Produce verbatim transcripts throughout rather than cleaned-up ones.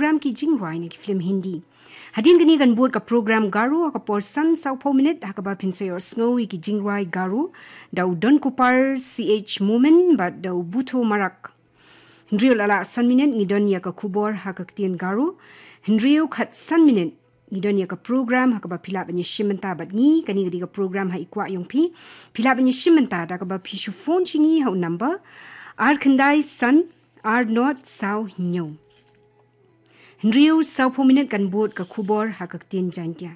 program ki jingrwai na ki film Hindi. Hadien kane kan bud ka program Garo ha ka por san sawphew minit, ha kaba phin sa ïohsngew ïa ki jingrwai Garo da u Donkupar C H Momin bad da u Butho Marak. Hynriew la lah san minit ngi don ïa ka khubor ha ka ktien Garo. Hynriew khatsan minit ngi don ïa ka program ha kaba phi lah ban ïashim bynta bad ngi, kane ka dei ka program Ha I Kwah Jong Phi. Phi lah ban ïashim bynta da kaba phi shu phone sha ngi ha u number ar khyndai san ar nod saw hynñiew. Hynriew sawphew minit kan bud ka khubor ha ka ktien Jaiñtia.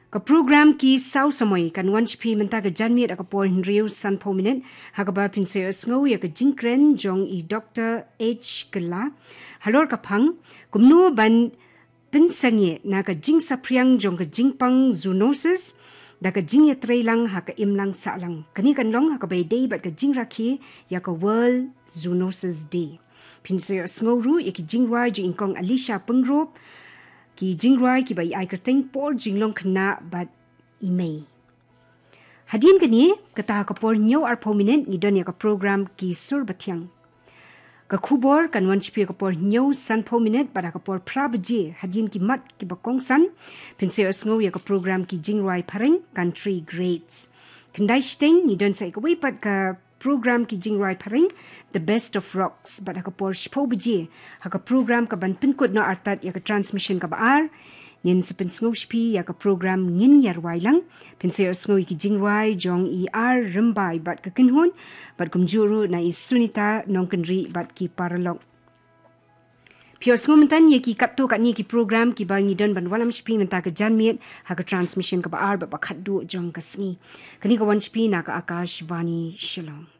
Ka program Ki Saw Samoi kan wan sha phi mynta ka janmiet ha ka por hynriew sanphew minit, ha kaba phin sa ïohsngew ïa ka jingkren jong i Doktor H Kylla halor ka phang kumno ban pynsangeh na ka jingsaphriang jong ka jingpang zoonosis da ka jingïatreilang ha ka imlang sahlang. Kane kan long ha kaba ïadei bad ka jingrakhe ïa ka World Zoonosis Day. Phin sa ïohsngew ruh ïa ki jingrwai jong i Kong Alicia Pyngrope, ki jingrwai kiba i ai kyrteng Por Jinglong Khynnah bad i Mei. Hadien kane, kata ha ka por hynñiew arphew minit ngi don ïa ka program Ki Sur Bathiang. Ka khubor kan wan sha phi ha ka por hynñiew sanphew minit bad ha ka por phra baje, hadien ki mat kiba kongsan, phin sa ïohsngew ïa ka program Ki Jingrwai Phareng, Country Greats. Khyndai shiteng ngi don sa ïa kawei pat ka program Ki Jingrwai Phareng, The Best of Rocks, bad ha ka por shiphew baje, ha ka program kaban pynkut noh artat ïa ka transmission kaba ar, ngin sa pynsngew sha phi ïa ka program Ngin Ïarwai Lang. Phin sa ïohsngew ïa ki jingrwai jong i R Rymbai bad ka kynhun, bad kumjuh ruh na i Sunita Nongkynrih bad ki paralok. Phi ïohsngew mynta ïa ki katto katne ki program kiba ngi don ban wallam sha phi mynta ka janmiet ha ka transmission kaba ar bad ba khatduh jong ka sngi. Kane ka wan sha phi na ka Akashvani Shillong.